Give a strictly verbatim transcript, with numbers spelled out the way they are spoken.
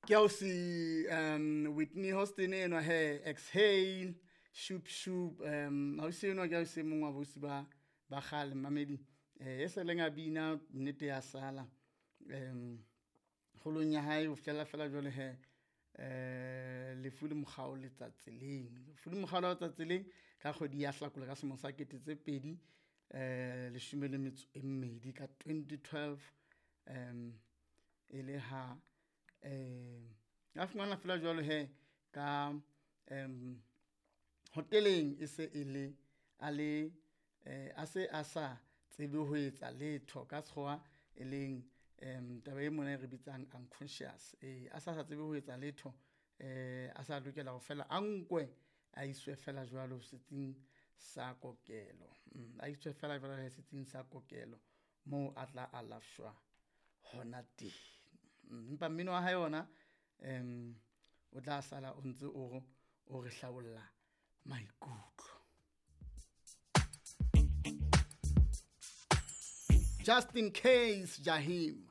Ke ausi um Whitney Houston enwa he, Exhale, Shoop Shoop. um Ausi enwa ke ausi e mong wa bausi ba ba kgale mamedi, eh e seleng a bina nnete ya sala um kgolong ya hae ho fihlela fela jwale he, eh lefu le mokgao letsa tseleng. Lefu le mokgao letsa tseleng ka kgwedi ya Hlakola ka selemo sa kete tse pedi eh leshome le metso e mmedi ka twenty twelve. Um e le ha eh a fumana fela jwalo he ka um hoteleng e se e le a le eh a se a sa tsebe ho etsa letho ka sekgowa, e leng um taba e mona e re bitsang unconscious. Eh a sa sa tsebe ho etsa letho, eh a sa lokela ho fela a nkwe a iswe fela jwalo setsing sa kokelo. A iswe fela jwalo setsing sa kokelo moo a tla alafshwa hona teng. Empa mmino wa hae ona um o tla sala o ntse o o re hlabolla maikutlo. Just in case, Jahim.